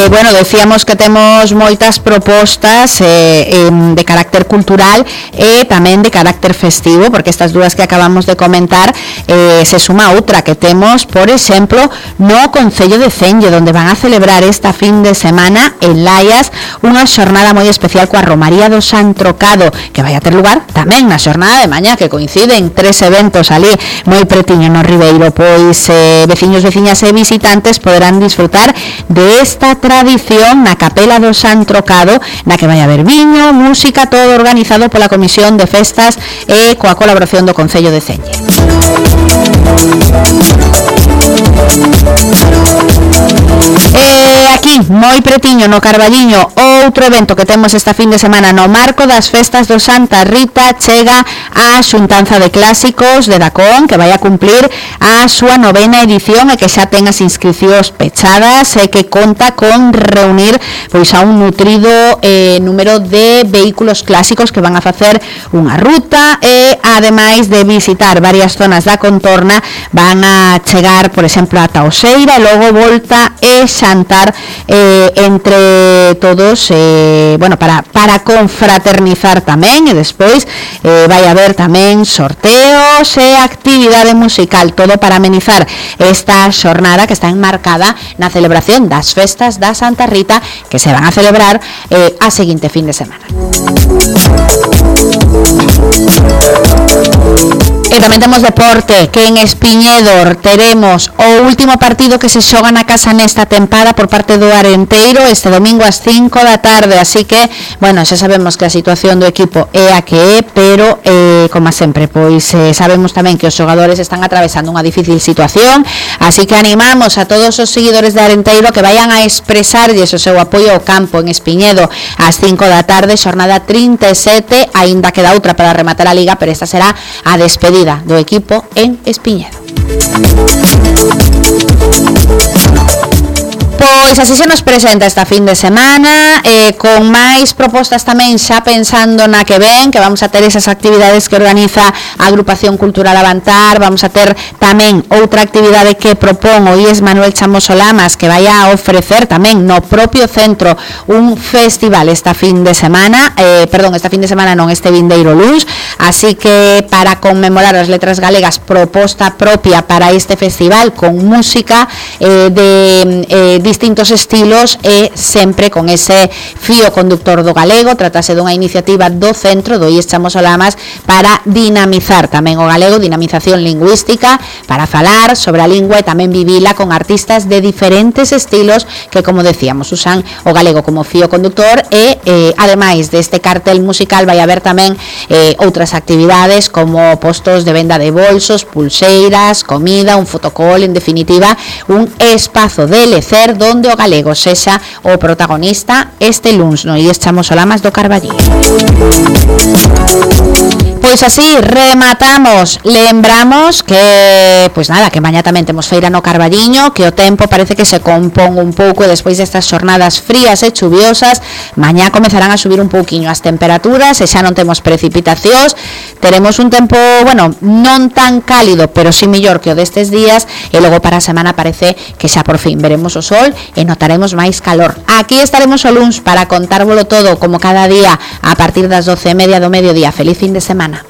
Bueno, decíamos que temos moitas propostas de carácter cultural e tamén de carácter festivo, porque estas dúas que acabamos de comentar se suma outra que temos, por exemplo, no Concello de Cenlle, donde van a celebrar esta fin de semana en Laias unha xornada moi especial coa Romaría do San Trocado, que vai a ter lugar tamén na xornada de mañá, que coinciden 3 eventos ali moi pretiño no Ribeiro. Pois veciños, veciñas e visitantes poderán disfrutar de esta tradición na Capela do San Trocado, na que vai haber viño, música, todo organizado pola Comisión de Festas e coa colaboración do Concello de Cenlle. Aquí, moi pretiño, no Carballiño, outro evento que temos esta fin de semana no marco das festas do Santa Rita, chega a xuntanza de clásicos de Dacón, que vai a cumplir a súa 9ª edición e que xa ten as inscripcións pechadas e que conta con reunir pois a un nutrido número de vehículos clásicos que van a facer unha ruta e, ademais de visitar varias zonas da contorna, van a chegar, por exemplo, a Taoseira e logo volta e xantar entre todos, bueno, para confraternizar tamén, e despois vai haber tamén sorteos e actividade musical, todo para amenizar esta xornada que está enmarcada na celebración das festas da Santa Rita, que se van a celebrar a seguinte fin de semana. E tamén temos deporte, que en Espiñedo teremos o último partido que se xoga na casa nesta tempada por parte do Arenteiro este domingo ás 5 da tarde, así que, bueno, xa sabemos que a situación do equipo é a que é, pero, como sempre, pois sabemos tamén que os xogadores están atravesando unha difícil situación, así que animamos a todos os seguidores de Arenteiro que vayan a expresarlles o seu apoio ao campo en Espiñedo ás 5 da tarde, xornada 37, aínda queda outra para rematar a Liga, pero esta será a despedida do equipo en Espiñedo. Pois así se nos presenta esta fin de semana, con máis propostas tamén xa pensando na que ven, que vamos a ter esas actividades que organiza a Agrupación Cultural Avantar, vamos a ter tamén outra actividade que propón o IES Manuel Chamoso Lamas, que vai a ofrecer tamén no propio centro un festival esta fin de semana, este vindeiro luns, así que para conmemorar as letras galegas, proposta propia para este festival con música de distintos estilos e sempre con ese fío conductor do galego. Tratase dunha iniciativa do centro do IES Chamoso Lamas para dinamizar tamén o galego, dinamización lingüística, para falar sobre a lingua e tamén vivila con artistas de diferentes estilos que, como decíamos, usan o galego como fío conductor e, ademais deste cartel musical, vai haber tamén outras actividades como postos de venda de bolsos, pulseiras, comida, un fotocall, en definitiva, un espazo de lecer donde o galego sexa o protagonista este luns no IES Chamoso Lamas do Carballiño. Pois así rematamos. Lembramos que, pois nada, que mañá tamén temos feira no Carballiño, que o tempo parece que se compón un pouco e despois destas xornadas frías e chuviosas, mañá comezarán a subir un pouquiño as temperaturas e xa non temos precipitacións. Teremos un tempo, bueno, non tan cálido, pero sí mellor que o destes días, e logo para a semana parece que xa por fin veremos o sol e notaremos máis calor. Aquí estaremos o luns para contárvolo todo como cada día a partir das 12:30 do mediodía. Feliz fin de semana.